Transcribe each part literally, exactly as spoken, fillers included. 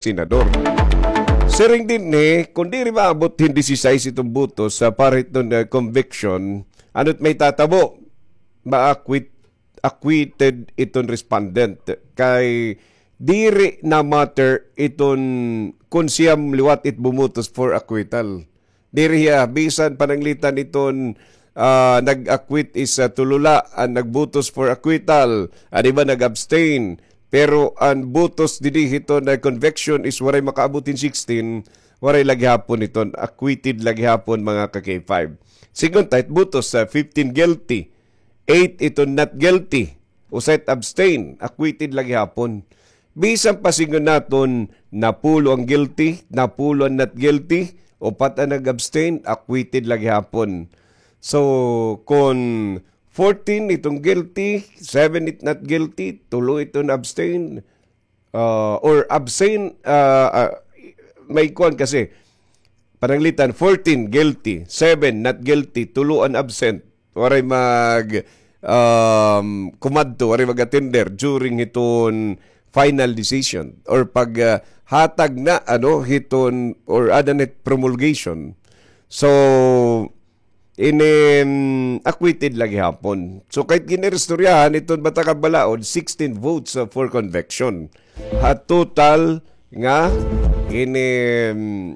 senador. Siring dinhi, kun diri maabot hin disisais iton botos sa para hiton, ah, conviction, ano it mahitatabo? Ma-acquit-, acquitted iton respondent. Kay diri na matter iton kun siyam liwat it bumutos for acquittal. Diri hiya, bisan pananglitan iton, ah, nag-acquit is, ah, tulo la an nagbutos for acquittal, an iba nag-abstain. Pero an butos didi hiton, ah, conviction is waray makaabot hin sixteen, waray la gihapon iton, acquitted la gihapon, mga ka-K five. Sigon ta it butos, ah, fifteen guilty, eight iton not guilty, usa it abstain, acquitted la gihapon. Bisan pa sigon naton napulo an guilty, napulo an not guilty, upat an nag-abstain, acquitted la gihapon. So, kon fourteen iton guilty, seven it not guilty, tulo iton abstain, ah, or abstain, ah, ah, may kuan kasi, pananglitan, fourteen guilty, seven not guilty, tulo an absent. Waray mag, um, kumadto, waray mag-attender during hiton final decision or pag, ah, hatag na, ano, hiton or ada na it promulgation. So, ini, mm, acquitted la gihapon. So, kahit gin-iristoryahan iton Batakang Balaod, sixteen votes, uh, for conviction. Ha total nga ini, mm,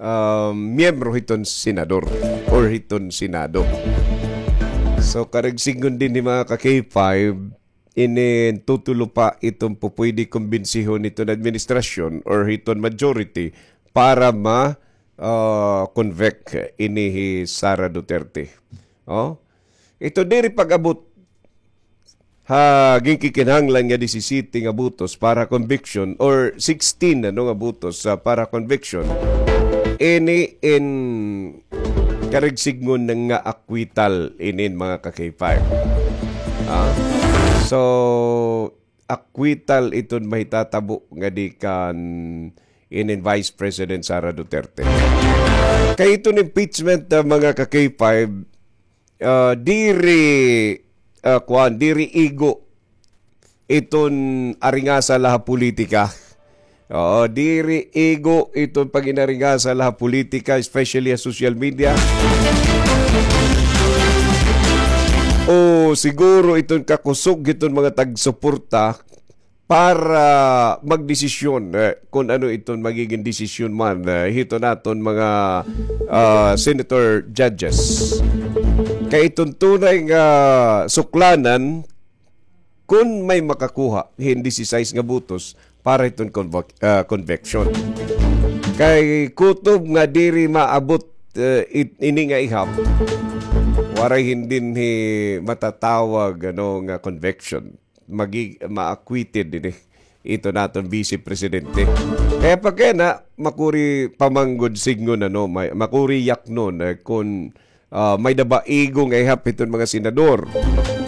um, miyembro hiton senador or hiton Senado. So, karuyag sidngon dinhi, mga ka-K five, ini tutulo pa iton pupwede kumbinsihon hiton administrasyon or hiton majority para ma, ah, convict ini hi Sara Duterte. Oh? Ito diri pag-abot ha ginkikinahanglan nga disisiyete nga butos para conviction or sixteen, ano, nga butos, ah, para conviction. Ini in karuyag sidngon nga acquittal inin, mga ka-K five. Ah? So, acquittal iton mahitatabo ngadi kan inin Vice President Sara Duterte. Kay iton impeachment, ah, mga ka-K five, ah, diri, ah, kuan, diri igo iton aringasa la ha politika. Oo, diri igo iton pag-inaringasa la ha politika, especially ha social media. O siguro iton kakusog hiton mga tagsuporta para magdesisyon, eh, kun ano iton magiging desisyon man, eh, hiton aton mga, ah, senator judges. Kay iton tunay nga suklanan, kun may makakuha hin disisais nga butos para hiton convoc-, ah, conviction. Kay kutob nga diri maabot, eh, it-, ini nga ihap, waray hin dinhi matatawag, ano, nga conviction. Magi-, ma-acquitted ini iton aton Vice Presidente. Kay pagkayana, makuri pa man gud sidngon, ano, may, makuri yaknon, eh, kun, ah, may-ada ba igo nga ihap hiton mga senador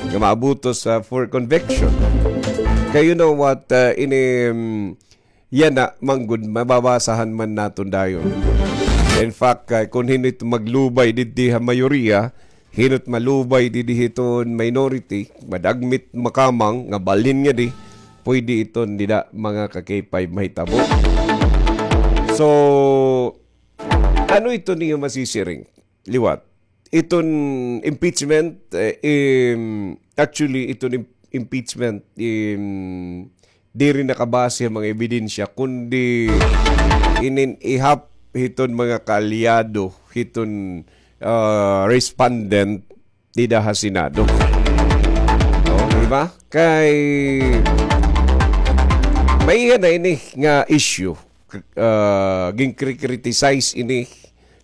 nga maabutos, ah, for conviction. Kay you know what, ah, ini, mm, yana man gud, mababasahan man naton dayon. In fact, ah, kun hin-o it maglubay didto ha mayoriya, hin-o it malubay didi hiton minority, madagmit makamang nga balhin ngadi, pwede iton dida, mga ka-K five, mahitabo. So, ano iton niyo masisiring liwat? Iton impeachment, eh, im-, actually, iton im-, impeachment, im-, diri nakabase ha mga ebidensya, kundi inin ihap hiton mga kaalyado hiton, ah, respondent dida ha Senado. Oh, di ba? Kay may na ini nga issue, ah, ginkri-criticize ini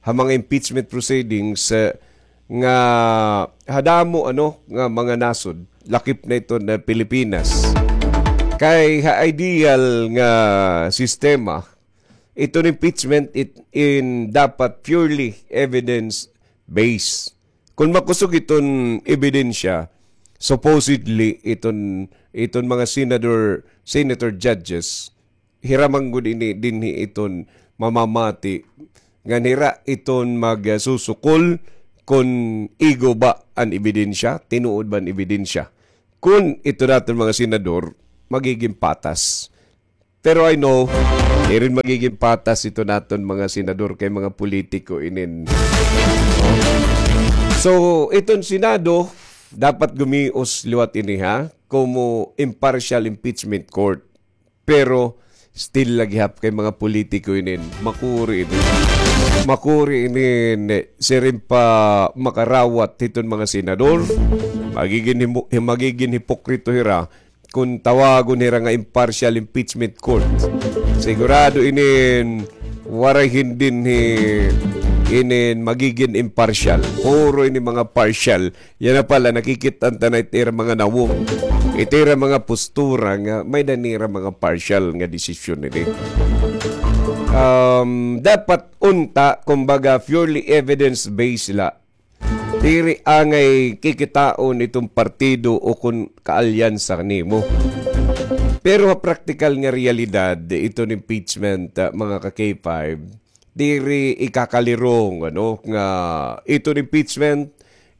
ha mga impeachment proceedings, eh, nga ha damo, ano, nga mga nasod, lakip na iton Pilipinas. Kay ha ideal nga sistema, iton impeachment it, in dapat purely evidence-based. Kun makusog iton ebidensya, supposedly iton, iton mga senador, senator judges, hira man gud ini dinhi iton mamamati ngan hira iton magsusukol kun igo ba an ebidensya, tinuod ba an ebidensya. Kun iton aton mga senador, magiging patas. Pero I know, Diri magigin patas iton aton mga senador kay mga politiko inin. So, iton Senado, dapat gumios liwat ini, ha, komo impartial impeachment court. Pero, still la gihap kay mga politiko inin. Makuri inin. Makuri inin, siring pa makarawat hiton mga senador. Magigin himo-, magigin hipokrito hira kon tawagon hira nga impartial impeachment court. Sigurado inin waray hin dinhi inin magigin impartial. Puro ini mga partial. Yana pala, nakikit-an ta na it ira mga nawong. It ira mga postura nga may-ada nira mga partial nga desisyon ini. Um, dapat unta, kumbaga, purely evidence-based la. Diri angay kikitaon iton partido o kon kaalyansa nimo. Pero ha praktikal nga realidad, iton impeachment, ah, mga ka-K five, diri ikakalirong, ano, nga iton impeachment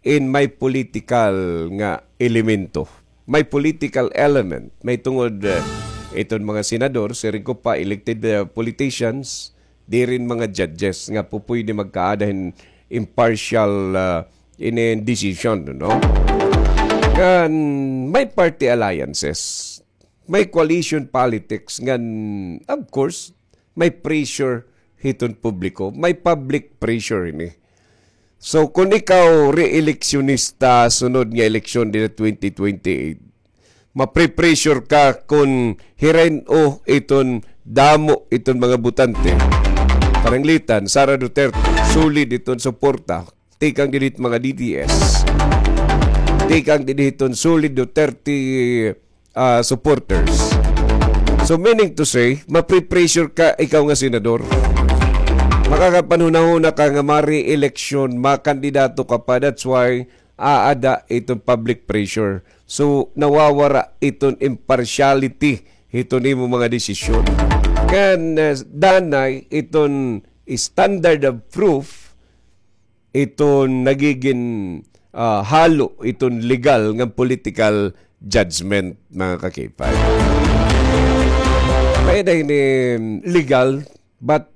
in may political nga elemento. May political element. May tungod, eh, iton mga senador, siring ko pa, elected, eh, politicians, diri in mga judges nga pupuydi magkaada hin impartial, ah, inin decision, no? Ngan may party alliances, may coalition politics, ngan, of course, may pressure hiton publiko, may public pressure ini. So, kon ikaw re-eleksyonista sunod nga eleksyon dinhi twenty twenty-eight, mapre-pressure ka kon hirain-o iton damo iton mga botante. Pananglitan, Sara Duterte, solid iton suporta. Tikang dinhi mga D D S. Tikang dinhi iton solid Duterte, ah, supporters. So, meaning to say, mapre-pressure ka ikaw nga senador. Makakapanhunahuna ka nga mare-eleksyon, makandidato ka pa. That's why aada iton public pressure. So, nawawara iton impartiality hiton imo mga desisyon. Ngan, ah, danay iton standard of proof iton nagigin, ah, halo iton legal ngan political judgment, mga ka-K five. May-ada ini legal, but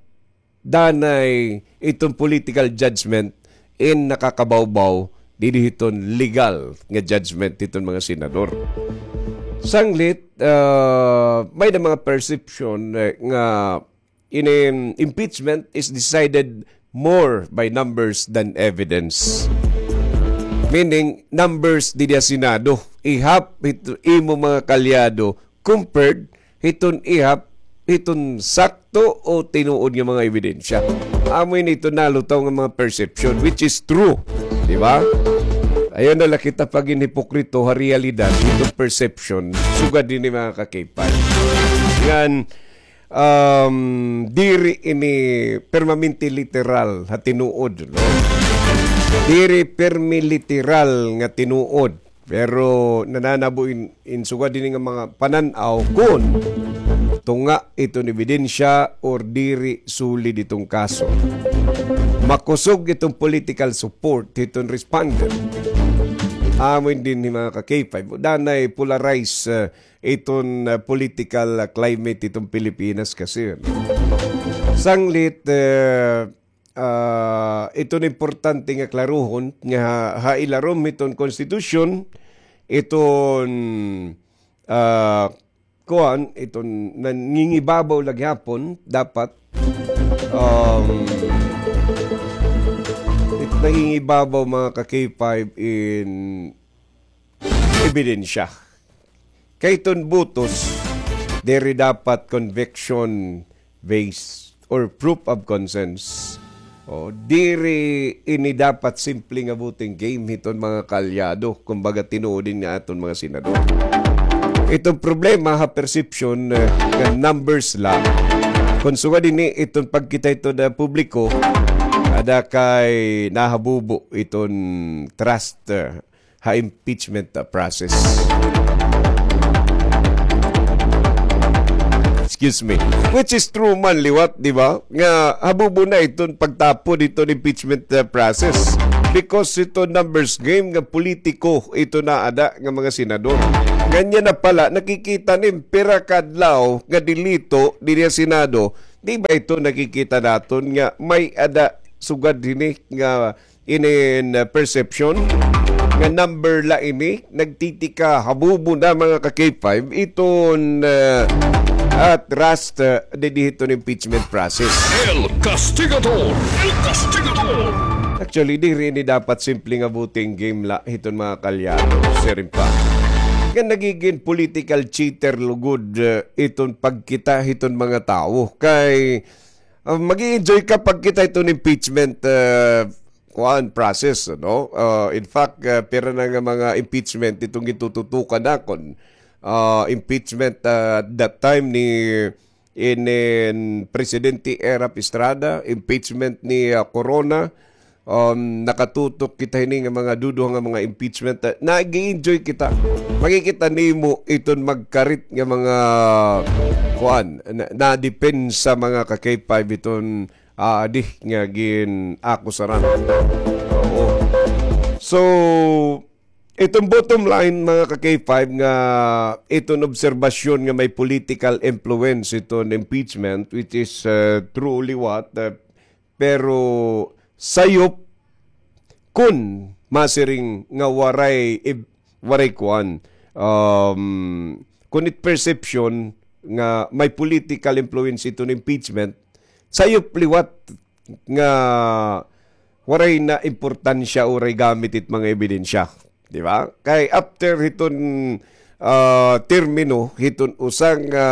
danay iton political judgment in nakakabawbaw dinhi hiton legal nga judgment hiton mga senador. Sanglit, ah, may-ada mga perception, eh, nga ini impeachment is decided more by numbers than evidence. Meaning, numbers dinhi ha Senado, ihap hit-, imo mga kaalyado, compared hiton ihap, hiton sakto o tinuod nga mga ebidensya. Amo ini iton nalutaw nga mga perception, which is true. Di ba? Ayaw na la kita pagin hipokrito ha realidad, hiton perception, sugad dinhi mga ka-K five. Ngan, um, diri ini permanente literal ha tinuod, no? Diri permi literal nga tinuod. Pero nananabo in, in sugad dinhi nga mga panan-aw kon tunga iton ebidensya or diri solid iton kaso. Makusog iton political support hiton respondent. Amo ini dinhi mga ka-K five. Danay polarized, eh, iton, ah, political, ah, climate iton Pilipinas kasi, ano. Sanglit, eh, ah, iton importante nga klarohon nga ha, ha ilarom hiton konstitusyon, iton, ah, kuan, iton nangingibabaw la gihapon dapat, um, it nangingibabaw mga ka-K five in ebidensya. Kay iton butos, diri dapat conviction based or proof of conscience. O, diri ini dapat simple nga voting game hiton mga kaalyado, kumbaga tinuod ini nga aton mga senador. Iton problema ha perception, eh, nga numbers la. Kon sugad dinhi iton pagkita hiton publiko, ada kay nahabubo iton trust, eh, ha impeachment, uh, process. Excuse me. Which is true man liwat, di ba? Nga habubo na iton pagtapod hiton impeachment, uh, process. Because ito numbers game nga politiko ito naada nga mga senador. Nganyan na pala, nakikita nim pira ka adlaw nga dilito diri sa Senado. Di ba ito nakikita naton nga may ada sugad hini nga inin, uh, perception nga number la ini, nagtitika habubo na mga ka K five iton, uh, at rust, uh, didi hiton impeachment process. El Castigador! El Castigador! Actually, diri ini dapat simple nga voting game la hiton mga kalyado, sir, in fact. Nga nagigin political cheater lugod, uh, iton pagkita hiton mga tawo. Kay, uh, mag-i-enjoy ka pagkita hiton impeachment, uh, kuan process, no? Uh, in fact, uh, pira na nga mga impeachment itong gitututukan nakon. Uh, impeachment, uh, at that time ni inin Presidente Erap Estrada, impeachment ni, uh, Corona, um, nakatutok kita hini nga mga duduha nga mga impeachment. Uh, nag-enjoy kita. Makikita nimo iton magkarit nga mga kuan, na, na depensa mga ka K five iton ah, di nga gin-akusaran. Oo. So, itong bottom line, mga ka K five, nga iton obserbasyon nga may political influence iton impeachment, which is, uh, truly what, uh, pero sayop kun masiring nga waray ib-, waray kuan, um, kun it perception nga may political influence iton impeachment, sayop liwat nga waray na importansya o waray gamit it mga ebidensya. Di ba? Kay after hiton, ah, termino, hiton usa nga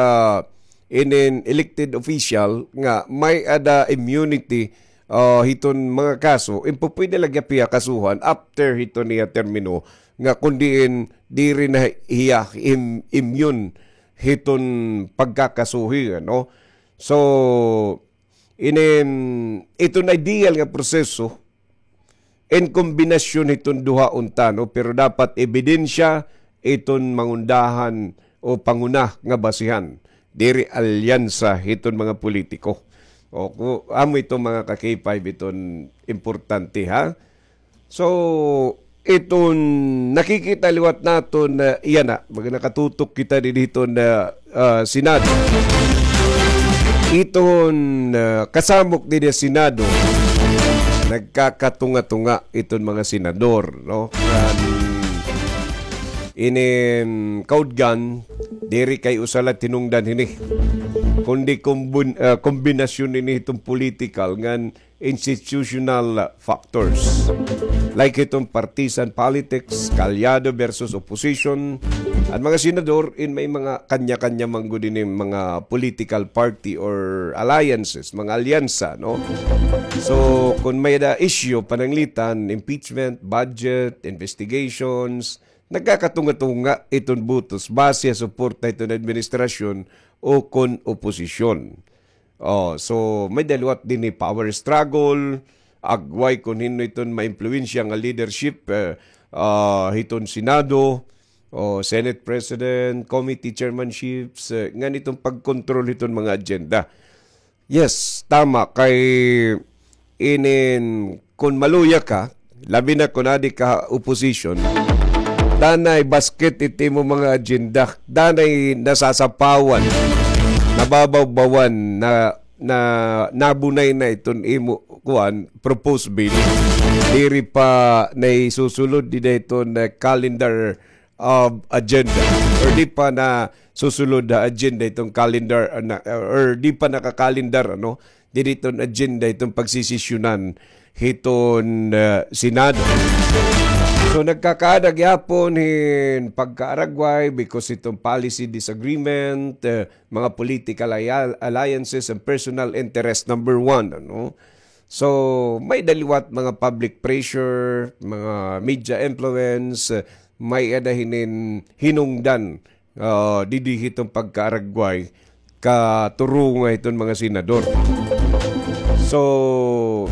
inin elected official nga may-ada immunity, ah, hiton mga kaso, impo pwede la gihap hiya kasuhan after hiton iya termino nga kun diin diri na hiya im-, immune hiton pagkakasuhi, ano? So, inin, iton ideal nga proseso, in kombinasyon hiton duha unta, no? Pero dapat ebidensya iton mangundahan o panguna nga basihan. Diri alyansa hiton mga politiko. O, ku-, amo ito mga ka K five iton importante, ha? So, iton nakikita liwat naton na iya na, mag-, nakatutok kita didi hiton, ah, ah, Senado. Iton, ah, kasamok didi Senado, nagkakatunga-tunga iton mga senador, no? Kan inin kaudgan, diri kay usa la tinungdan hini. Kundi kombin-, ah, kombinasyon ini hiton political ngan institutional factors. Like itong partisan politics, kalyado versus opposition. An mga senador, in may mga kanya-kanya man gud ini mga political party or alliances, mga alyansa, no? So, kung may da issue, pananglitan, impeachment, budget, investigations, nagkakatunga-tunga iton butos base ha suporta hiton administrasyon o kon oposisyon. Oh, so may da liwat dinhi power struggle, agway kon hin-o iton maimpluwensya nga leadership, eh, ah, hiton Senado, o Senate President, committee chairmanships, eh, ngan iton pagkontrol hiton mga agenda. Yes, tama. Kay inin, kon maluya ka, labi na kon adi ka opposition, danay basket it imo mga agenda, danay nasasapawan, nababawbawan, na, na, nabunay na iton imo, kuan, proposed bill. Diri pa naisusulod dida iton, eh, calendar of agenda, or di pa nasusulod ha agenda iton calendar, ah, na, or di pa naka-calendar, ano, didi iton agenda iton pagsesesyonan hiton, ah, Senado. So, nagkakaada gihapon hin pagkaaragway because iton policy disagreement, eh, mga political alli-, alliances and personal interest, number one, ano. So, may da liwat mga public pressure, mga media influence, eh, may ada hinin hinungdan, ah, didi hiton pagkaaragway, katurunga hiton mga senador. So,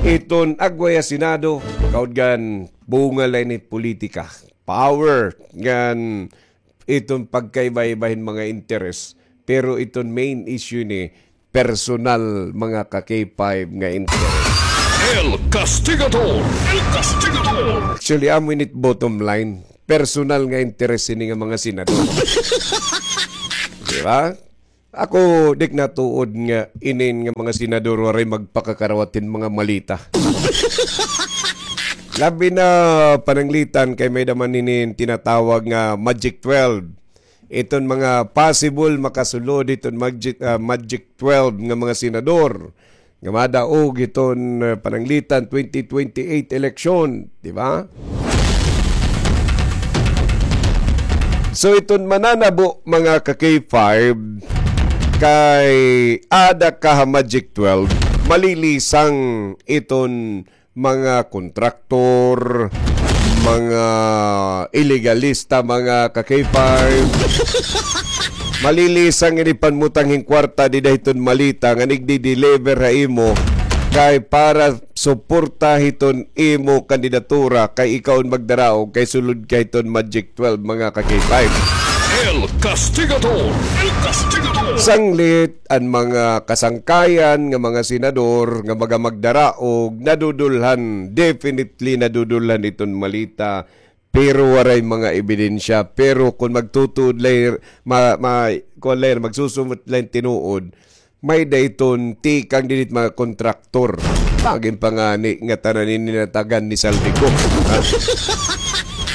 iton agway ha Senado, kaudgan, bunga la ini politika. Power, ngan iton pagkaiba-iba hin mga interes. Pero iton main issue ini, personal, mga ka K five, nga interest. El Castigador. El Castigador. Actually, amo ini it bottom line. Personal nga interes ini nga mga senador. Di ba? Ako, di ak natuod nga inin nga mga senador waray magpakakarawat hin mga malita. Labi na pananglitan kay may-ada man hinin tinatawag nga Magic twelve. Iton mga possible makasulod hiton Magic, ah, Magic twelve nga mga senador nga madaog hiton, ah, pananglitan twenty twenty-eight election, di ba? So, iton mananabo, mga ka-K five, kay ada ka ha Magic twelve, malilisang iton mga kontraktor, mga ilegalista, mga ka-K five. Malilisang ini panmutang hin kwarta dida hiton malita nga nagdi-deliver ha imo kay para suporta hiton imo kandidatura kay ikaw an magdaraog kay sulod ka hiton Magic twelve, mga ka-K five. El Castigador. El Castigador. Sanglit an mga kasangkayan nga mga senador nga maga magdaraog, nadudulhan, definitely nadudulhan iton malita, pero waray mga ebidensya. Pero kon magtutuod la, ma, ma, kuan la, magsusumot la hin tinuod, may-ada iton tikang dinhi hit mga kontraktor. Bangin pa ngani nga tanan ini natagan ni Zaldy Co. Ha?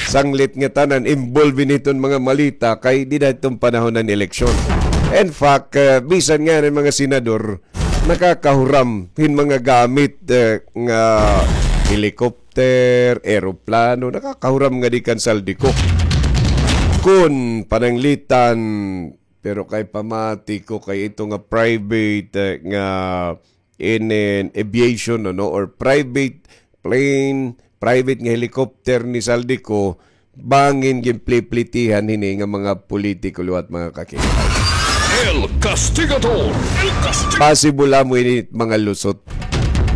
Sanglit nga tanan involved ini hiton mga malita kay dida hiton panahon han eleksyon. In fact, eh, bisan ngani mga senador, nakakahuram hin mga gamit, eh, nga helicopter, eroplano, nakakahuram ngadi kan Zaldy Co. Kon pananglitan, pero kay pamati ko kay ito nga private, eh, nga inin aviation, ano, or private plane, private nga helicopter ni Zaldy Co, bangin ginpliplitihan hini nga mga politiko liwat, mga ka-K five. El Castigador. El Castigador. Possible amo ini mga lusot.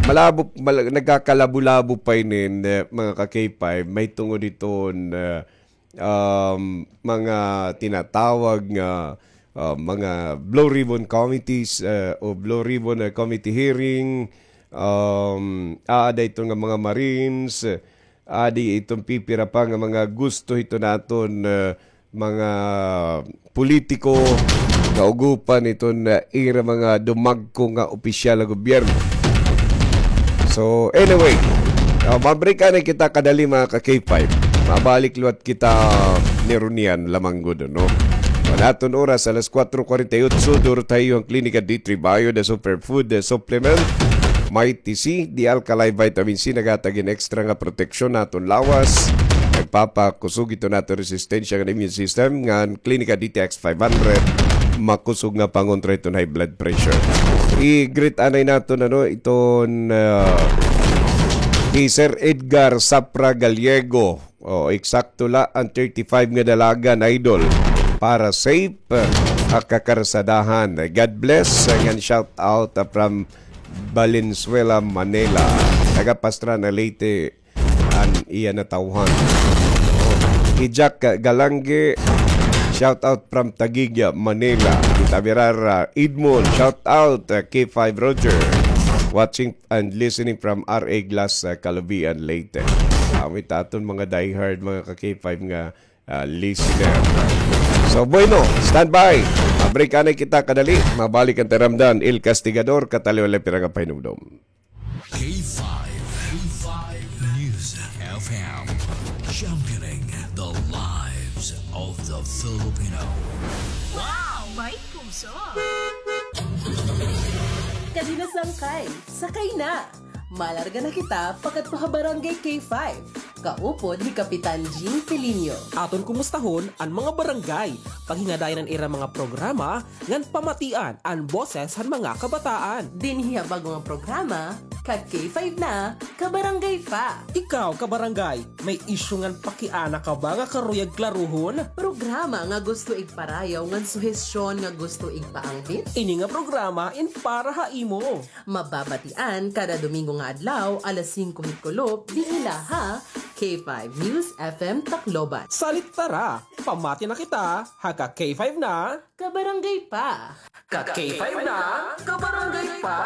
Malabo, mal-, nagkakalabo-labo pa ini, eh, mga ka-K five, mahitungod hiton, eh, um, mga tinatawag nga, uh, mga Blue Ribbon Committees, uh, o Blue Ribbon, uh, Committee hearing, um, aada ito nga mga Marines, uh, adi iton pipira pa nga mga gusto hito naton, uh, mga politiko, kaugupan iton, uh, ira mga dumagko nga opisyal nga gobyerno. So, anyway, uh, mabalik anay kita kadali, mga ka-K five. Mabalik liwat kita ni Runian lamang gud, no? An aton oras, alas kuwatro kuwarenta y otso, duro tayo an Klinika D three Bio, the superfood, the supplement. Mighty C, the alkaline vitamin C, naghatag hin extra nga proteksyon ha aton lawas. Nagpapakusog ito naton resistensya nga immune system, ngan Klinika D T X five hundred, makusog nga pangontra iton high blood pressure. I-greet anay naton, ano, iton, ah, hi Sir Edgar Sapra Gallego. O, eksakto la an thirty-five nga dalagan, idol. Para safe, ah, ha kakarsadahan. God bless, ah, ngan shout out, ah, from Valenzuela, Manila. Taga Pastrana, Leyte, an iya natawhan. O, hi Jack Galange, shout out from Taguig, Manila. Hi Tamirara Edmond, shout out, ah, K five Roger. Watching and listening from R A Glass, ah, Calubian, Leyte. Amo it aton mga diehard, mga ka-K five nga, ah, listener. So, bueno, standby. Ma-break anay kita kadali. Mabalik an Taramdan, El Castigador, kataliwan la pira nga pahinumdom. K five, K five News F M, championing the lives of the Filipino. Wow! May puso! Kadi na sangkay, sakay na! Malarga na kita pakadto ha Barangay K five. Kaupod hi Kapitan Jean Pelinio. Aton kumustahon an mga barangay, paghingadayon an ira mga programa, ngan pamatian an boses han mga kabataan. Dinhi ha bag-o nga programa, ka K five na, kabarangay pa. Ikaw, kabarangay, may isyu ngan pakiana ka ba nga karuyag klaruhon? Programa nga gusto igparayaw ngan suhestyon nga gusto igpaangbit? Ini nga programa in para ha imo. Mababatian kada Domingo nga adlaw, alas singko hit kulop, dinhi la ha K five News F M Tacloban. Salit tara, pamati na kita, ha ka K five na, kabarangay pa. Ka K five na, kabarangay pa.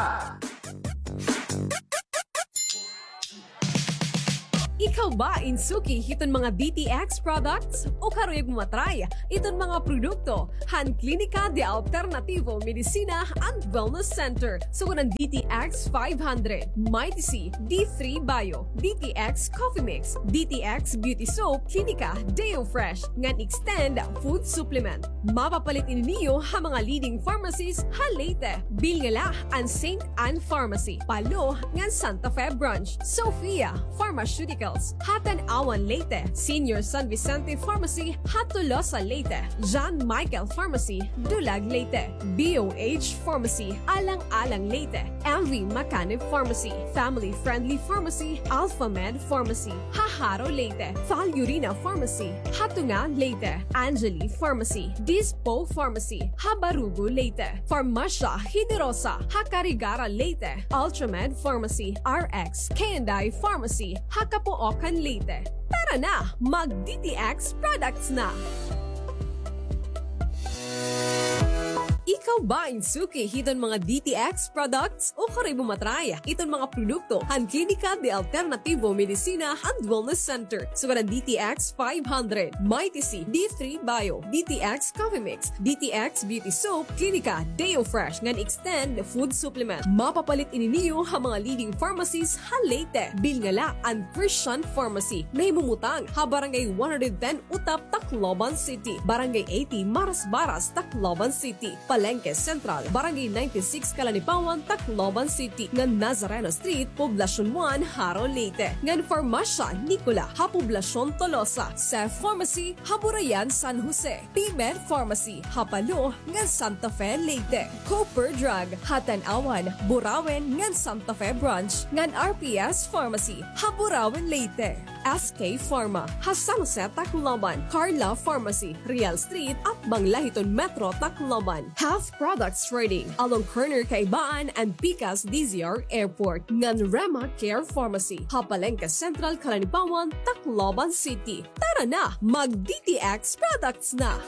Ikaw ba in suki hiton mga D T X products? O karuyag mo matry iton mga produkto han Klinika de Alternativo Medicina and Wellness Center? Sugad han D T X five hundred, Mighty C, D three Bio, D T X Coffee Mix, D T X Beauty Soap, Klinika Deo Fresh, ngan Extend Food Supplement. Mapapalit ini niyo ha mga leading pharmacies ha Leyte. Bilngala an Saint Ann Pharmacy, Palo, ngan Santa Fe Branch. Sophia Pharmaceuticals, ha Tanauan, Leyte. Senior San Vicente Pharmacy, ha Tolosa, Leyte. John Michael Pharmacy, Dulag, Leyte. B O H Pharmacy, Alang-alang, Leyte. M V Macanib Pharmacy, Family Friendly Pharmacy, Alpha Med Pharmacy, ha Jaro, Leyte. Falurina Pharmacy, ha Tunga, Leyte. Angeli Pharmacy, Dispo Pharmacy, ha Barugo, Leyte. Farmasya Generosa, ha Carigara, Leyte. Ultramed Pharmacy, R X K and I Pharmacy, ha Capoocan, Leyte. Tara na, mag D T X products na! Ikaw ba in suki hiton mga D T X products? O karuyag mo matry iton mga produkto han Klinika de Alternativo Medicina and Wellness Center? Sugad han D T X five hundred, Mighty C, D three Bio, D T X Coffee Mix, D T X Beauty Soap, Klinika Deo Fresh, ngan Extend Food Supplement. Mapapalit ini niyo ha mga leading pharmacies ha Leyte. Bilngala an Christian Pharmacy, nahimumutang ha Barangay one hundred ten Utap, Tacloban City, Barangay eighty Marasbaras, Tacloban City, Palengke Central, Barangay ninety-six Kalanipawan, Tacloban City, ngan Nazareno Street, Poblacion one, Jaro, Leyte, ngan Farmasya Nicola ha Poblacion Tolosa, Cef Pharmacy ha Burayan, San Jose, P-Med Pharmacy ha Palo ngan Santa Fe, Leyte, Cooper Drug ha Tanauan, Burauen ngan Santa Fe Branch, ngan R P S Pharmacy ha Burauen, Leyte. S K Pharma ha San Jose, Tacloban, Carla Pharmacy, Real Street, atbang la hiton Metro Tacloban, Health Products Trading along corner Kaibaan and Pikas D Z R Airport, ngan Rema Care Pharmacy ha Palengke Central, Kalanipawan, Tacloban City. Tara na, mag D T X products na!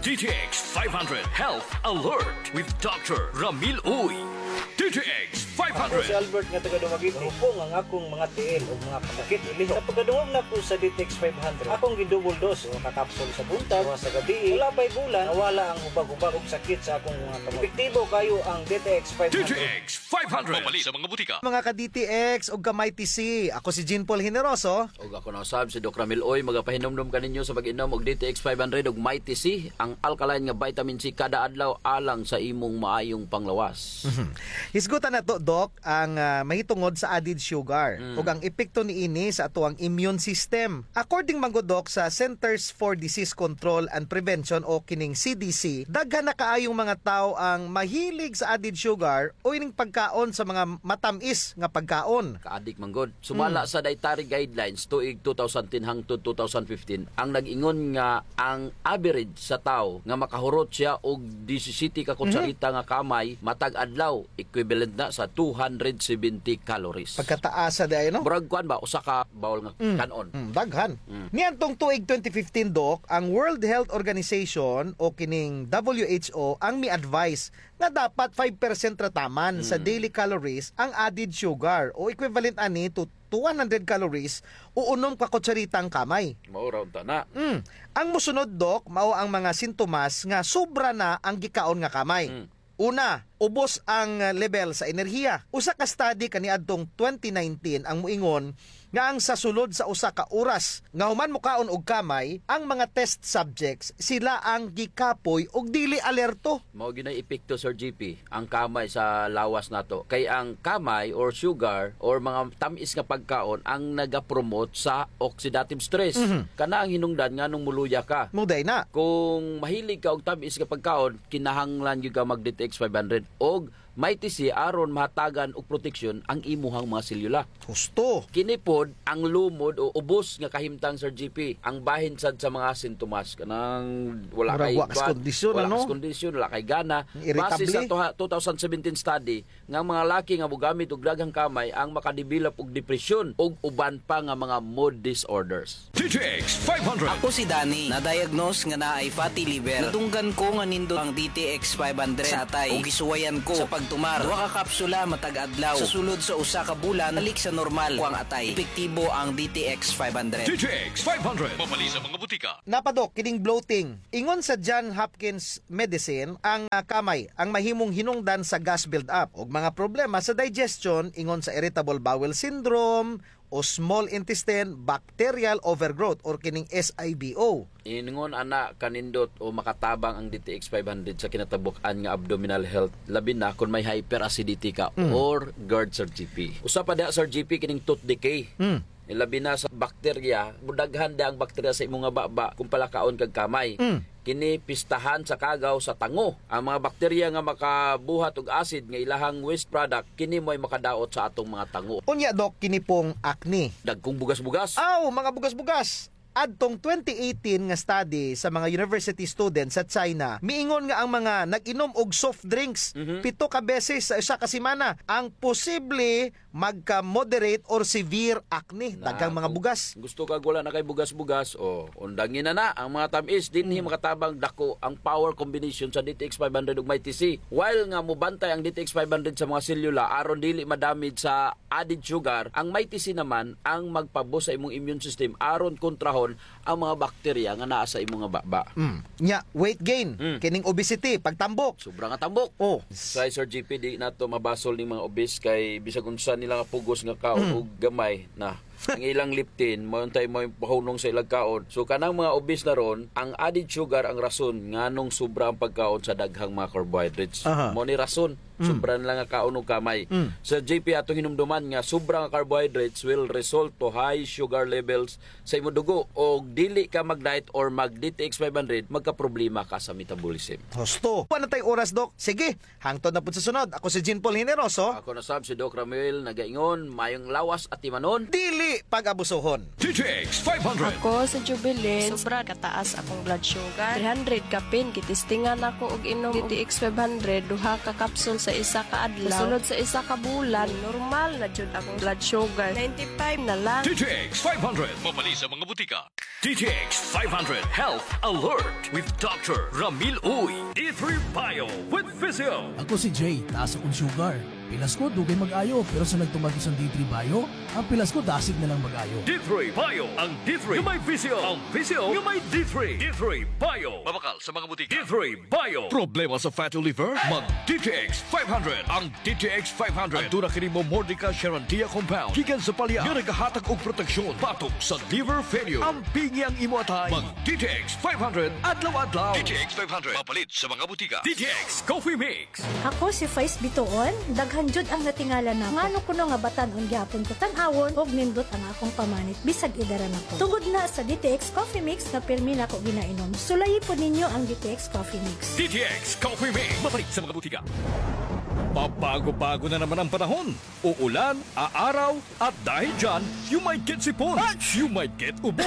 D T X five hundred Health Alert with Doctor Ramil Uy. D T X Ako five hundred. Si Albert nga taga Dumaguete. Hupong ang akong mga tiil ug mga pasakit ilihok. Sa pagkadungog nako sa D T X five hundred, akong gi-double dose, usa ka kapsul sa buntag, usa sa gabii. Wala pa'y bulan, nawala ang hubag-hubag ug sakit sa akong mga kamot. Epektibo kaayo ang D T X five hundred. D T X five hundred. Mapalit sa mga butika. Mga ka-D T X ug ka-Mighty C, ako si Jean Paul Generoso. Ug ako na usab si Doc Ramil Uy, magapahinumdom kaninyo sa pag-inom og D T X five hundred ug Mighty C, ang alkaline nga vitamin C kada adlaw alang sa imong maayong panglawas. Mhm. Hisgutan nato, Doc, ang, ah, mahitungod sa added sugar Mm. ug ang epekto niini sa atoang immune system. According man gud, Doc, sa Centers for Disease Control and Prevention o kining C D C, daghan na kaayong mga tawo ang mahilig sa added sugar o ining pagkaon sa mga matam-is nga pagkaon. Kaadik man gud. Sumala Mm. sa dietary guidelines tuig two thousand ten hangtod two thousand fifteen, ang nag-ingon nga ang average sa tawo nga makahurot siya og disisiyete ka Mhm. kutsarita nga kamay matag adlaw, equivalent na sa two hundred seventy calories. Pagkataasa diay, no? Murag kuan ba, usa ka bowl nga Mm. kan-on. Mm, daghan. Mm. Niadtong tuig twenty fifteen, Doc, ang World Health Organization o kining W H O ang mi-advise nga dapat five percent ra taman sa Mm. daily calories ang added sugar o equivalent ani to, to one hundred calories o unom ka kutsarita ang kamay. Mao ra unta na. Mm. Ang mosunod, Doc, mao ang mga sintomas nga sobra na ang gikaon nga kamay. Mm. Una, ubos ang level sa enerhiya. Usa ka study kaniadtong twenty nineteen ang moingon nga ang sa sulod sa usa ka oras nga human mokaon og kamay, ang mga test subjects, sila ang gikapoy ug dili alerto. Mao gyud nay epekto, Sir G P, ang kamay sa lawas nato. Kay ang kamay or sugar or mga tam-is nga pagkaon ang nagapromote sa oxidative stress. Mhm. Kana ang hinungdan nganong moluya ka. Mao diay na. Kung mahilig ka og tam-is nga pagkaon, kinahanglan gyud ka mag D T X five hundred og Mighty C aron mahatagan og proteksyon ang imuhang mga selyula. Husto. Kini pod ang lumod o ubos nga kahimtang, Sir G P, ang bahin sad sa mga sintomas, kanang wala Murag kay wa ka sa kuan, kondisyon, wala ano? ka sa kondisyon, wala kay gana. Irritable. Base sa tuha-, two thousand seventeen study, nga ang mga laki nga mogamit og daghang kamay ang makadevelop og depresyon ug uban pa nga mga mood disorders. D T X five hundred. Ako si Danny, na-diagnose nga naay fatty liver. Nadunggan ko nga nindot ang D T X five hundred sa atay ug gisuwayan ko sa pag Tumar, duha ka kapsula matag adlaw. Sa sulod sa usa ka bulan, balik sa normal ko ang atay. Epektibo ang D T X five hundred. D T X five hundred. Mapalit sa mga butika. Napa, Doc, kining bloating. Ingon sa John Hopkins Medicine, ang, ah, kamay ang mahimong hinungdan sa gas build-up ug mga problema sa digestion, ingon sa irritable bowel syndrome o small intestine bacterial overgrowth or kining S I B O. Ingon ana kanindot o makatabang ang D T X five hundred sa kinatabuk-an nga abdominal health, labi na kon may hyperacidity ka Mm. or GERD, Sir G P. Usa pa diha, Sir G P, kining tooth decay. Mm. Labi na sa bakterya, mudaghan da ang bakterya sa imo nga baba kung palakaon kag kamay. Mm. Kini pistahan sa kagaw sa tango. Ang mga bakterya nga makabuhat og acid nga ilahang waste product, kini mo'y makadaot sa atong mga tango. Unya, Doc, kini pong acne. Dagkong bugas-bugas. Aw, mga bugas-bugas. Adtong twenty eighteen nga study sa mga university students sa China, miingon nga ang mga nag-inom og soft drinks Mhm. pito ka beses sa usa ka semana ang posible magka-moderate or severe acne. Na, daghang mga kung bugas. Gusto kag wala na kay bugas-bugas, o, undangi na na ang mga tam-is, dinhi Mm. makatabang dako ang power combination sa D T X five hundred ug Mighty C. While nga mubantay ang D T X five hundred sa mga selula aron dili madamage sa added sugar, ang Mighty C naman ang magpa-boost sa imong immune system aron kontrahon ang mga bakterya nga naa sa imo nga baba. Mm. Nya, weight gain, Mm. kining obesity, pagtambok. Sobra nga tambok. Oh. Kay Sir G P, di nato mabasol ning mga obese kay bisag unsa nila nga pugos nga kaon Mm. og gamay na. Ang ilang leptin, mao untay mao'y pahunong sa ilang kaon. So, kanang mga obese na ron, ang added sugar ang rason nganong sobra ang pagkaon sa daghang mga carbohydrates. Aha. Mao ni rason, Mm. sobra na lang nga kaon og kamay. Mm. Sir G P, atong hinumduman nga sobra nga carbohydrates will result to high sugar levels sa imo dugo, og dili ka mag-diet or mag D T X five hundred, magkaproblema ka sa metabolism. Husto. Wala na tay oras, Doc. Sige, hangtod na pud sa sunod. Ako si Jean Paul Generoso. Ako na sab si Doc Ramuel, nagaingon, mayong lawas atimanon. Dili pag-abusohon. D T X five hundred. Ako si Jubilin. Sobra kataas akong blood sugar. Three hundred kapin, gitistingan ako og inom D T X five hundred, duha ka kapsul sa isa ka adlaw. Sulod sa isa ka bulan, normal na jud akong blood sugar. Ninety-five na lang. D T X five hundred. Mapalit sa mga butika. D T X five hundred Health Alert with Doctor Ramil Uy. D three Bio with Physio. Ako si Jay, taas akong sugar. Pilas ko, dugay mag-ayo, pero sa nagtuman ko sa D three Bio, ang pilas ko, dasig na lang mag-ayo. D three Bio, ang D three nga may Physio, ang Physio nga may D three. D three Bio. Mabakal sa mga butika. D three Bio. Problema sa fatty liver? Mag D T X five hundred. Ang D T X five hundred. Aduna kini Momordica charantia compound gikan sa palya nga nagahatag og proteksyon batok sa liver failure. Ampingi ang imo atay. Mag D T X five hundred adlaw-adlaw. D T X five hundred. Mapalit sa mga butika. D T X Coffee Mix. Ako si Faiz Bituon, daghan jud ang natingala nako. Ngano kuno nga batan-on gihapon ko tan-awon ug nindot ang akong pamanit bisag edad na ko. Tungod na sa D T X Coffee Mix nga pirmi nako ginainom. Sulayi pod ninyo ang D T X Coffee Mix. D T X Coffee Mix. Mapalit sa mga butika. Pabago-bago na naman ang panahon. Uulan, aaraw, at dahil dyan, you might get sipon. You might get ubo.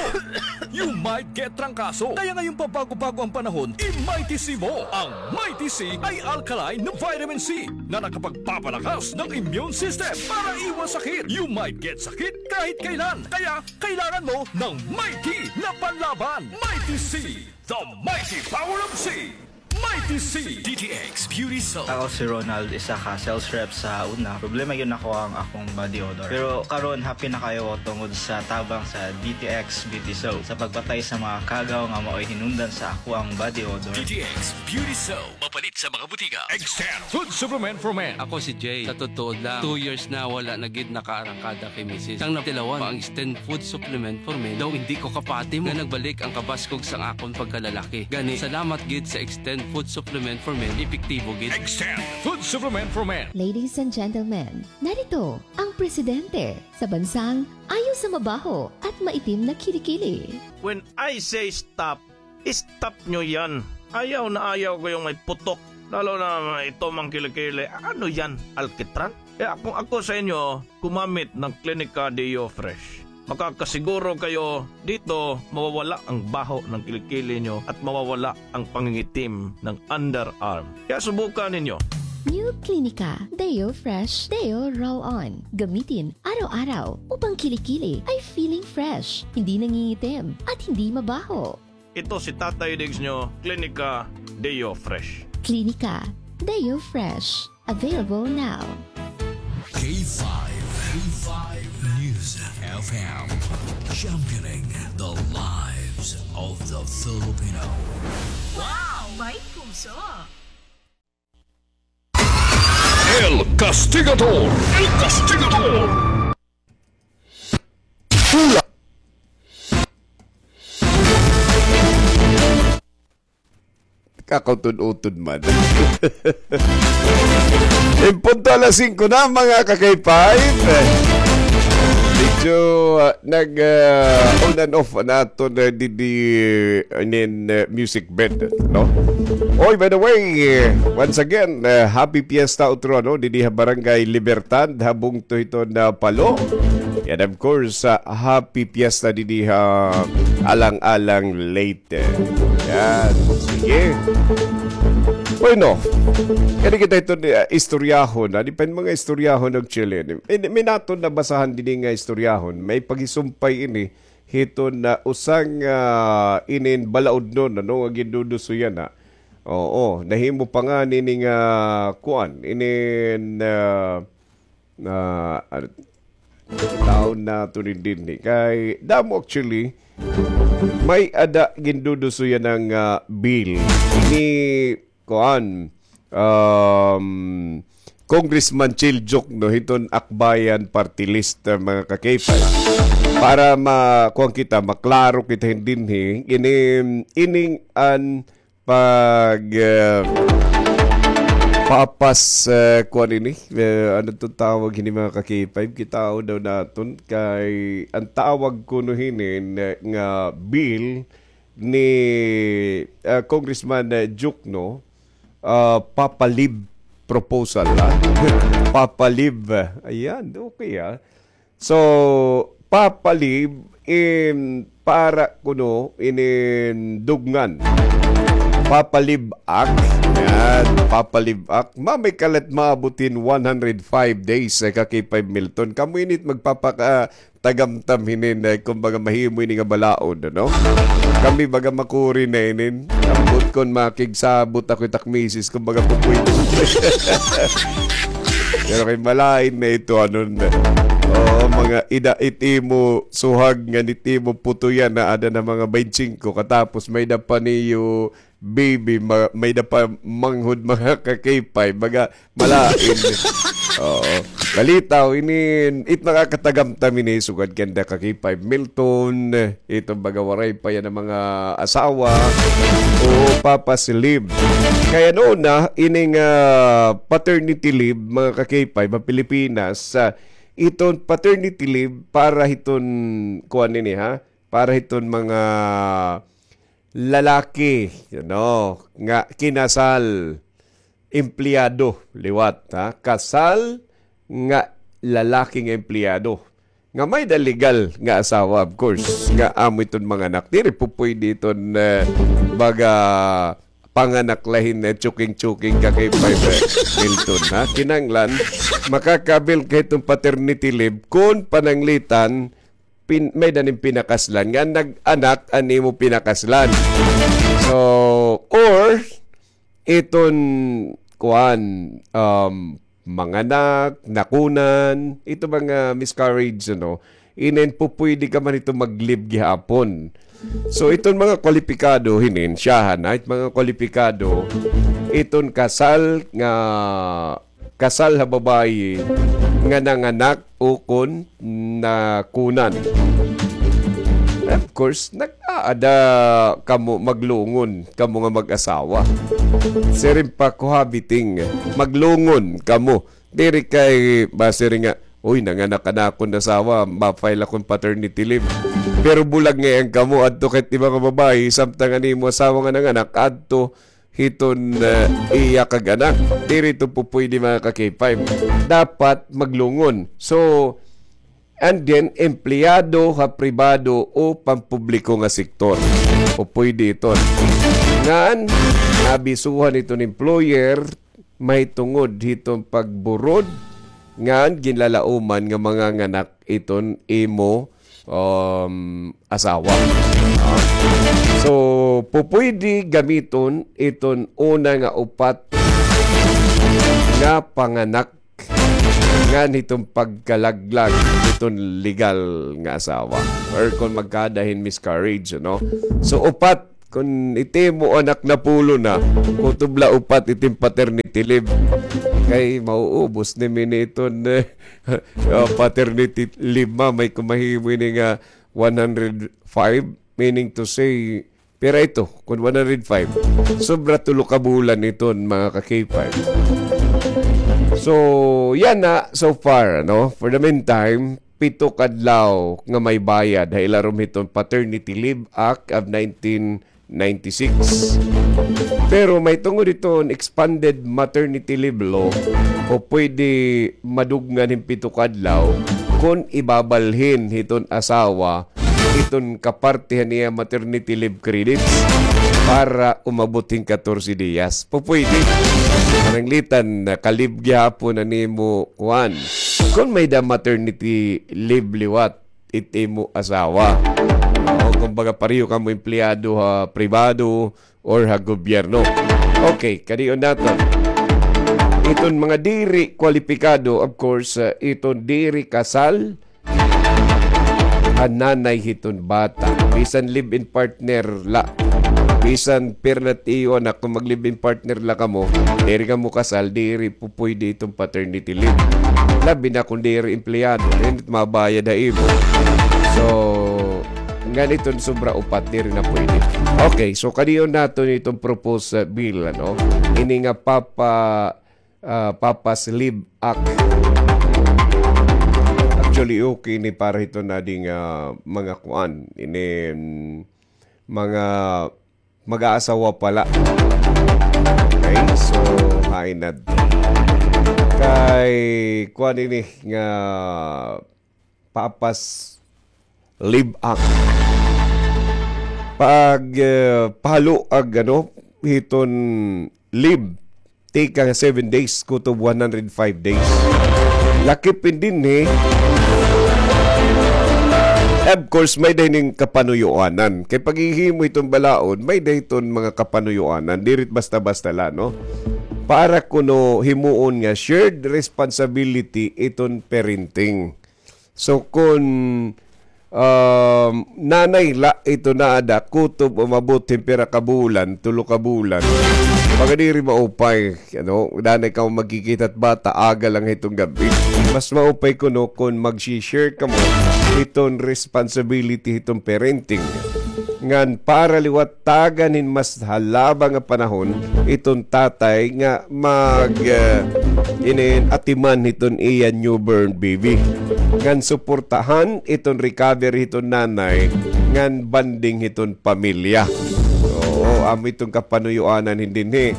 You might get trangkaso. Kaya ngayong pabago-bago ang panahon, i-Mighty C mo. Ang Mighty C ay alkaline na vitamin C na nakapagpapalakas ng immune system para iwas sakit. You might get sakit kahit kailan. Kaya kailangan mo ng Mighty na panlaban. Mighty C, the mighty power of C. Mighty C. D T X Beauty Soap. Ako si Ronald, isa ka sales rep sa una. Problema gyud nako ang akong body odor. Pero karon, happy na kaayo tungod sa tabang sa D T X Beauty Soap sa pagpatay sa mga kagaw nga mao'y hinungdan sa akoang body odor. D T X Beauty Soap. Mapalit sa mga butika. Extend Food Supplement for Men. Ako si Jay. Sa totoo lang, two years na wala na gid nakaarangkada kay misis. Sang natilawan pa ang Extend Food Supplement for Men, daw indi ko kapati mo nga nagbalik ang kabaskog sang akon pagkalalaki. Gani, salamat gid sa Extend Food Supplement for Men, epektibo gid. Extend Food Supplement for Men. Ladies and gentlemen, narito ang presidente sa bansang ayaw sa mabaho at maitim na kilikili. When I say stop, stop nyo yan. Ayaw na ayaw ko yung may putok. Lalo na ito mang kilikili. Ano yan? Alkitran? Kaya kung ako sa inyo, gumamit ng Clinica Deo Fresh. Makakasiguro kayo dito mawawala ang baho ng kilikili nyo at mawawala ang pangingitim ng underarm. Kaya subukan ninyo. New Clinica Deo Fresh Deo Roll-On. Gamitin araw-araw upang kilikili ay feeling fresh, hindi nangingitim, at hindi mabaho. Ito si Tatay Diggs nyo, Clinica Deo Fresh. Clinica Deo Fresh. Available now. K five, K five News F M, championing the lives of the Filipino. Wow! May puso! El Castigador! El Castigador! Hula! Kakautod-utod man. In punto alas singko na, mga ka-K five. Medyo, ah, nag, ah, on and off na aton, ah, didi, ah, inin, ah, music bed, no? Oy, by the way, eh, once again, ah, happy fiesta utro, no? Didi ha Barangay Libertad, ha bungto hiton Palo. And of course, ah, happy fiesta didi ha Alang-Alang, Leyte. Yan. Sige. Bueno, kani kita ito ni, ah, istoryahon, ah, di pa in mga istoryahon og Chile. May, may naton nabasahan didi nga istoryahon. May paghisumpay ini hiton, ah, usa nga, ah, inin balaod no, ano, nga ginduduso yana. Oo, nahimo pa nga nini nga kuan, inin, ah, ah, ar-, taon na to ni dinhi. Kay damo actually, may-ada ginduduso yana nga, ah, bill. Ini, kuan, um, Congressman Chel Diokno, hiton Akbayan Party List, ah, mga ka-K five. Para ma-, kuan kita, maklaro kita hin dinhi, ini, ining an pag, eh, papas, eh, kuan ini, eh, ano to tawag hini, mga ka-K five, kitaon daw naton kay an tawag kuno hini nga bill ni, eh, Congressman, eh, Diokno, ah, Papa Leave proposal, ah. Papa Leave, ayan, okay, ah. So, Papa Leave in para kuno inin dugngan. Papa Leave Act. Yan, Papa Leave Act. Mamay kalat maabot hin one hundred five days, eh, ka-K five Milton. Kamo ini it magpapaka-, tagamtam hinin, eh, kumbaga mahimo ini nga balaod, ano? Kami baga makuri na inin. Ambot kon makigsabot ako it ak misis, kumbaga pupwede. Pero kay malain na ito, ano na. Oo, mga ida it imo suhag nga nit imo putoyan na ada na mga baynte singko, katapos may-ada pa niyo baby, ma-, may-ada pa manghod, mga ka-K five, baga, malain. Oo. Balitaw, inin, it makakatagamtam ini, sugad kanda ka-K five Milton, ito baga waray pa yana mga asawa, o papa si leave. Kay ano na, ining, ah, paternity leave, mga ka-K five, ha Pilipinas, ah, iton paternity leave para hiton, kuan ini, ha? Para hiton mga lalaki, you know, nga kinasal, empleyado, liwat, ha? Kasal nga lalaki nga empleyado. Nga may-ada legal nga asawa, of course, nga amo iton manganak. Diri pupwede iton, eh, baga panganak la hin, eh, tsuking-tsuking ka-K five, eh, Milton, ha? Kinahanglan, makaka-avail ka hiton paternity leave kon pananglitan, pin-, may-ada nim pinakaslan. Nga nag-anak an imo pinakaslan. So, or, iton, kuan, um, manganak, nakunan, ito mga miscarriage, ano, inin pupwede ka man ito mag-leave gihapon. So, iton mga kwalipikado, hinin, siyahan, ha, it mga kwalipikado, iton kasal nga kasal ha babayi nga nanganak ukon nakunan. Of course, nag-aada kamo maglungon, kamo nga mag-asawa. Siring pa cohabiting, maglungon kamo. Diri kay basiring nga, "Uy, nanganak an akon asawa, ma-file akon paternity leave." Pero bulag ngay-an kamo, adto kay it iba nga babayi, samtang an imo asawa nga nanganak, adto hiton, eh, iya kag anak. Diri ito pupwede, mga ka-K five. Dapat maglungon. So, and then, empleyado ha pribado o pampubliko nga sektor. Pupwede iton. Ngan, nabisuhan iton employer, mahitungod hiton pagburod, ngan ginlalauman nga manganganak iton imo um, asawa. Ah. So, pupwede gamiton iton una nga upat pagkapanganak ngan hiton pagkalaglag hiton legal nga asawa. Or kon magkaada hin miscarriage, no? So, upat, kon it imo anak napulo na, kutob la upat iton paternity leave. Kay mauubos nimo ini iton, eh, ah, paternity leave, ma, may kon mahimo ini nga one hundred five, meaning to say, pira ito, kon one hundred five, sobra tulo ka bulan iton, mga ka-K five. So, yana, so far, ano, for the meantime, pito ka adlaw nga may bayad ha ilarom hiton Paternity Leave Act of nineteen ninety-six. Pero mahitungod hiton expanded maternity leave law, pupwede madugngan hin pito ka adlaw kon ibabalhin hiton asawa iton kaparte han iya maternity leave credits para umabot hin katorse diyas. Pupwede. Pananglitan, naka-leave gihapon an imo kuan. Kon may-ada maternity leave liwat it imo asawa. O, kumbaga, pareho kamo empleyado ha pribado or ha gobyerno. Okay, kadiyon naton. Iton mga diri kwalipikado, of course, uh, iton diri kasal, an nanay hiton bata. Bisan live-in partner la. Bisan pira na it iyo anak, kon mag-live-in partner la kamo, diri kamo kasal, diri pupwede iton paternity leave. Labi na kon diri empleyado, diri mabayad ha imo. So, ngan iton sobra upat, diri na pwede. Okay, so kadiyon naton iton proposed, uh, bill, ano? Ini nga papa ah, Papa's Leave Act. Actually, okay ini para hiton adi nga mga kuan. Ini, mm, mga mag-aasawa pa la. Okay, so, hain na. Kay, kuan ini nga Papa's Leave Act. Pag, eh, pahaluag, ano, hiton leave, tikang seven days, kutob one hundred five days. Lakip hin dinhi. Of course, may-ada hining kapanuyuanan. Kay paghihimo hiton balaod, may-ada hiton mga kapanuyuanan. Diri it basta-basta la, no? Para kuno himuon nga shared responsibility iton parenting. So, kon, um, nanay la iton naada, kutob umabot hin pira ka bulan, tulo ka bulan, baga diri maupay, ano, danay kamo magkikita hit bata, aga lang hiton gab-i. Mas maupay kuno kon magsi-share kamo hiton responsibility hiton parenting. Ngan para liwat tagan hin mas halaba nga panahon iton tatay nga mag, eh, inin atiman hiton iya newborn baby. Ngan suportahan iton recovery hiton nanay, ngan bonding hiton pamilya. Oo, amo iton kapanuyuanan hin dinhi.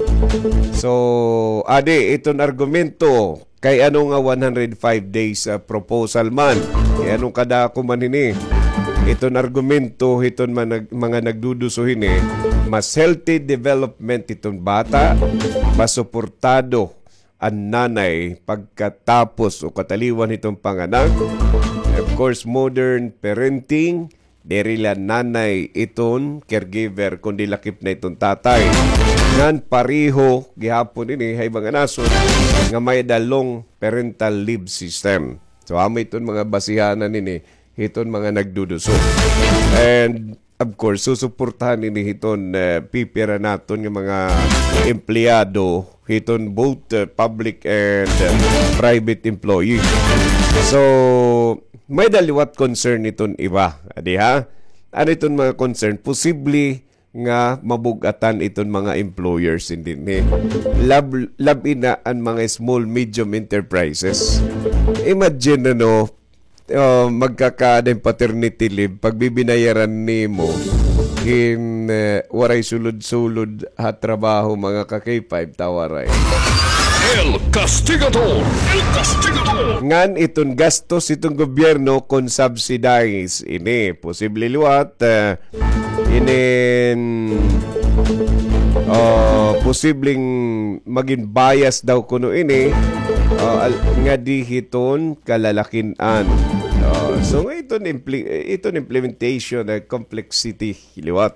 So, adi iton argumento. Kay ano nga one hundred five days, ah, proposal man? Kay ano kadako man hini? Iton argumento hiton man-, mga nagduduso hini, mas healthy development hiton bata, mas suportado an nanay pagkatapos o kataliwan hiton panganak. Of course, modern parenting, diri la nanay iton caregiver, kundi lakip na iton tatay. Ngan pareho gihapon ini ha iba nga nasod nga may-ada long parental leave system. So, amo iton mga basihanan ini hiton mga nagduduso. And, of course, susuportahan ini hiton, eh, pipira naton nga mga empleyado hiton both, eh, public and, eh, private employee. So, may-ada liwat concern hiton iba. Adi ha? Ano iton mga concern? Posible nga mabug-atan iton mga employers hin dinhi. Lab-, labi na an mga small, medium enterprises. Imagine, ano, ah, magkakaada hin paternity leave, pagbibinayaran nimo hin, eh, waray sulod-sulod ha trabaho, mga ka-K five, ta waray. El Castigador! El Castigador! Ngan iton gastos hiton gobyerno kon subsidize ini. Posible liwat, eh, inin, ah, posibleng magin bias daw kuno ini, ah, al-, ngadi hiton kalalakin-an. Ah, so, nga iton impli-, iton implementation, eh, complexity liwat.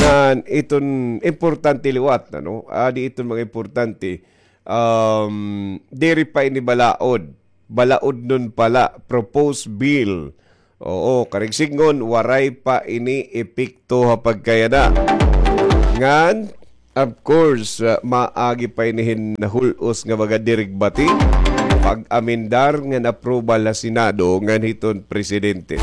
Ngan iton importante liwat, ano? Adi iton mga importante. um, diri pa ini balaod. Balaodnon pa la, proposed bill. Oo, karuyag sidngon, waray pa ini epekto ha pagkayana. Ngan, of course, ah, maagi pa ini hin hul-os nga mga dirigbati, pag-amendar ngan approval ha Senado ngan hiton presidente.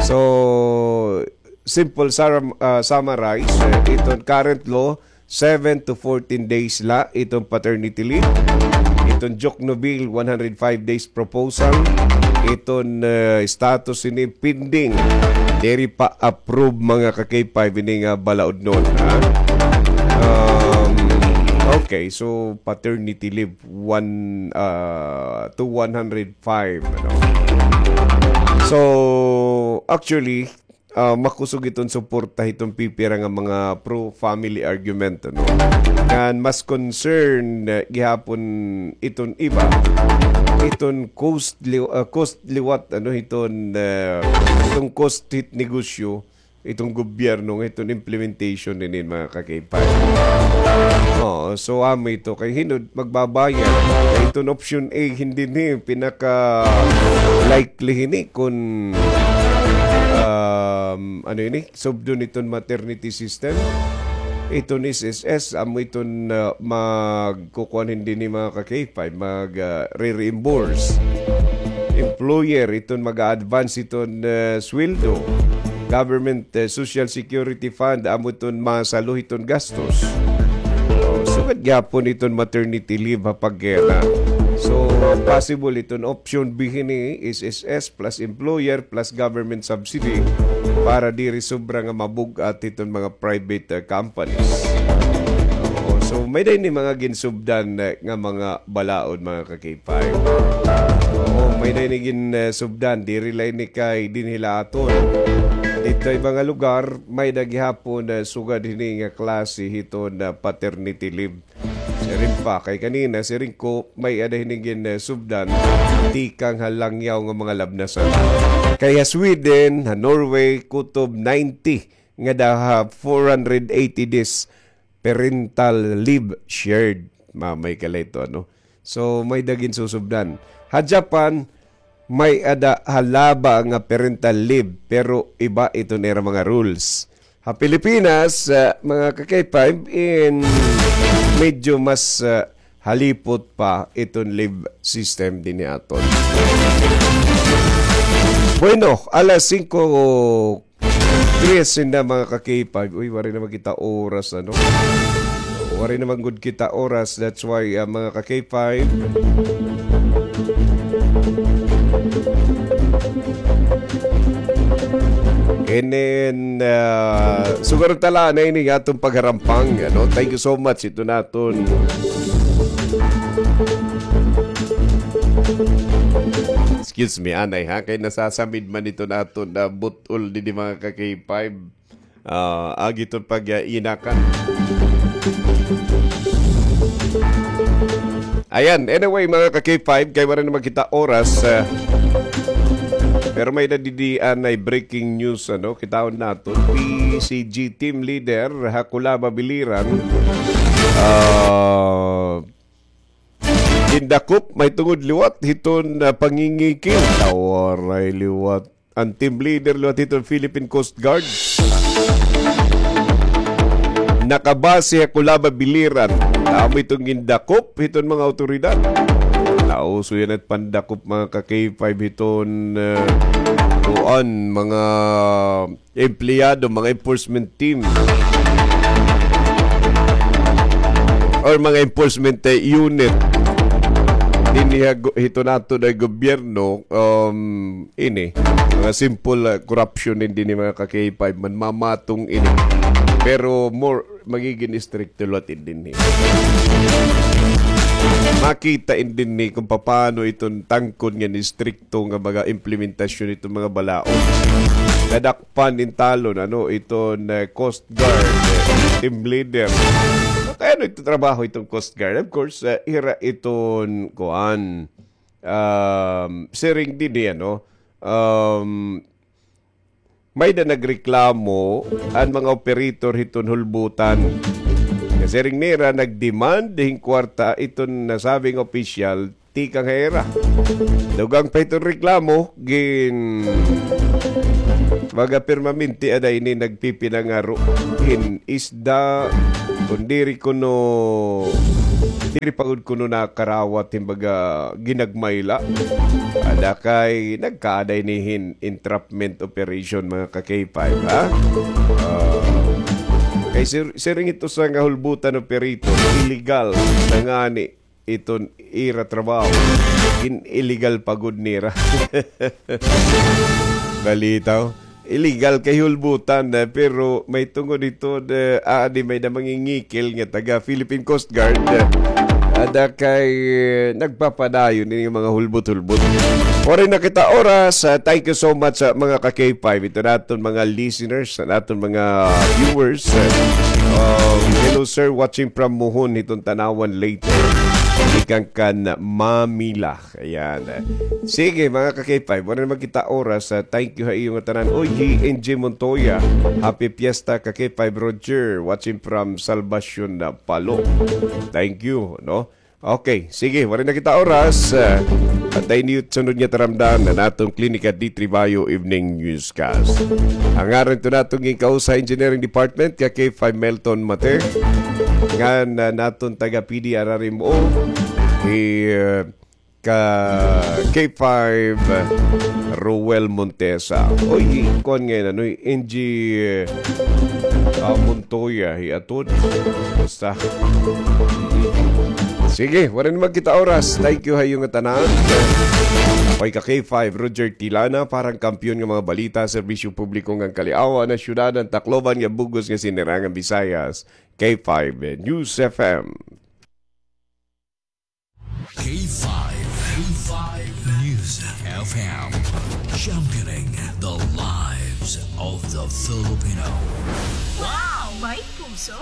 So, simple sar-, ah, summarize, eh, iton current law, seven to fourteen days la iton paternity leave. Iton Jokno Bill, one hundred five days proposal. Iton, eh, status ini pending. Diri pa approve, mga ka-K five, ini nga balaodnon, ha? Um, okay, so paternity leave, one, ah, to one hundred five, ano? So, actually, ah, makusog iton suporta hiton pipira nga mga pro-family argument, ano? Ngan mas concern, eh, gihapon iton iba, iton cost li-, ah, cost liwat, ano, hiton, eh, iton cost hit negosyo, iton gobyerno, nga iton implementation nini, mga ka-K five. Oo, so amo ito kay hinod magbabayad. Kay iton option A, hindi ni pinaka-likely hini kun, um, ano ini, subdon iton maternity system. Iton S S S, amo iton, uh, magkukuan hindi ni mga ka-K five, mag, uh, re-reimburse. Employer, iton mag-advance iton, uh, sweldo. Government, uh, Social Security Fund, amo iton masalo hiton gastos. Oh, sugad gihapon iton maternity leave ha pagkena. So, possible iton option B hini, S S S plus employer plus government subsidy para diri sobra nga mabug-at hiton mga private, uh, companies. Oo, so may-ada ini mga ginsubdan, uh, nga mga balaod, mga ka-K five. Oo, may-ada ini gin, uh, subdan, diri la ini kay dinhi la aton. Didto ha iba nga lugar, may-ada gihapon, uh, sugad hini nga klase hiton, uh, paternity leave. Siring pa, kay kanina, siring ko, may-ada hini gin, eh, subdan, tikang ha langyaw nga mga labnasan. Kay ha Sweden, ha Norway, kutob ninety, ngada ha four hundred eighty days parental leave shared. Mamay ka la ito, ano? So, may-ada gin susubdan. Ha Japan, may-ada halaba nga parental leave, pero iba iton ira mga rules. Ha Pilipinas, ah, mga ka-K five, in medyo mas, ah, halipot pa iton leave system dinhi aton. Bueno, alas singko trese na, mga ka-K five. Uy, waray na man kita oras, ano? Waray na man gud kita oras. That's why, ah, mga ka-K five, and then, ah, sugaron ta la na ini nga aton pagharampang, ano? Thank you so much. Ito naton. Excuse me, anay ha, kay nasasamid man ito naton na but-ol didi, mga ka-K five. Ah, agi iton pag-iinakan. Ayan, anyway, mga ka-K five, kay waray na man kita oras, ah, pero may-ada didi anay breaking news, ano, kitaon naton. P C G team leader ha Culaba, Biliran, ah, gindakop mahitungod liwat hiton, ah, pangingikil. Waray liwat. An team leader liwat hiton Philippine Coast Guard nakabase ha Culaba, Biliran. Amo iton gindakop hiton mga awtoridad. Nauso yana it pandakop, mga ka-K five, hiton, ah, kuan, mga empleyado, mga enforcement team or mga enforcement, eh, unit dinhi ha go-, hiton aton nga gobyerno, um, ini, mga simple, ah, corruption ini dinhi, mga ka-K five, man mamatong ini. Pero more, magigin istrikto liwat ini dinhi. Makita ini dinhi kung papaano iton tangkod ngan istrikto nga mga implementasyon iton mga balaod. Nadakpan in talon, ano, iton, eh, Coast Guard, eh, team leader. Kay ano iton trabaho iton Coast Guard? Of course, eh, ira iton, kuan, um, siring dinhi, ano, um, may-ada nagreklamo an mga operator hiton Hulbutan. Siring nira, nag-demand hin kwarta iton nasabing opisyal tikang ha ira. Dugang pa iton reklamo, gin-, baga permanente ada ini nagpipinangaro hin isda, kun diri kuno, diri pa gud kuno nakarawat hin baga ginagmayla. Ada kay nagkaada ini hin entrapment operation, mga ka-K five, ha? Ah, kay sir, siring ito sa nga hulbutan operator, illegal na ngani iton ira trabaho. Gin-illegal pa gud nira. Balitaw. Illegal kay hulbutan, eh, pero may tungod ito, eh, ah, di may da mangingikil nga taga Philippine Coast Guard, eh, ada kay, eh, nagpapadayon ini nga mga hulbot-hulbot. Waray na kita oras. Ah, thank you so much sa mga ka-K five. Ito naton mga listeners, sa naton mga viewers. Eh, um, hello, sir, watching from Mohon, hiton Tanauan, Leyte. Ikan kan Mamila. Ayan. Sige, mga ka-K five, wala naman kita oras. Ah, thank you ha iyo nga tanan. Oy, hi N J Montoya. Happy Fiesta, ka-K five Roger. Watching from Salvacion, ah, Palo. Thank you, no? Okay, sige, wala na kita oras. Ah, antay niyo sunod nga taramdan na naton Klinika D three Bio Evening Newscast. Ang ngaran to naton ginkausa Engineering Department, ka-K five Melton Mate. Ngan, ah, naton taga P D R R M O, hi, ah, ka-K five, Ruel Montesa. Oy, kuan ngay na, no, N G, ah, Montoya, hi Atod. Basta. Sige, wala naman kita oras. Thank you ha iyo nga tanan. Oy, ka-K five, Roger Tilana, parang kampiyon nga mga balita, serbisyo publiko ngan kaliawan na syudad, an Tacloban nga bug-os nga sinirangan Bisayas. K five News F M. K five, K five News F M, championing the lives of the Filipino. Wow! May puso!